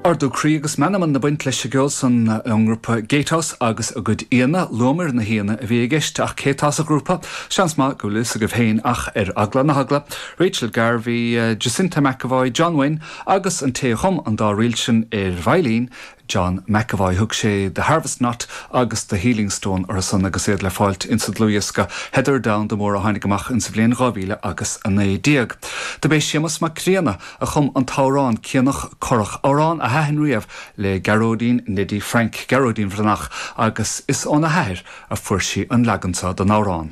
Ardú croí agus meanman ag baint leis an gceol san ón ngrúpa Gatehouse agus a gcuid aíonna, luamar na haíonna a bhí i gceist ach cé tá sa ghrúpa? Seans maith go bhfuil a fhios agaibh féin ach ar eagla na heagla, Rachel Garvey, Jacinta McEvoy, John Wynne agus an té a chum an dá ríl sin ar veidhlín, John McEvoy. Thug sé The Harvest Knot agus The Healing Stone orthu san agus iad le fáilt insa dlúthdhiosca Heather Domhanda Mór a tháinig amach insa bhliain 2019. Dob é Séamus Mac Grianna a chum an t-amhrán Cianach Corrach, amhrán a thaitin riamh le Gearóidín Neidí Frainc, Gearóidín Bhreathnach, agus is óna hathair a fuair sí an leagan seo den amhrán.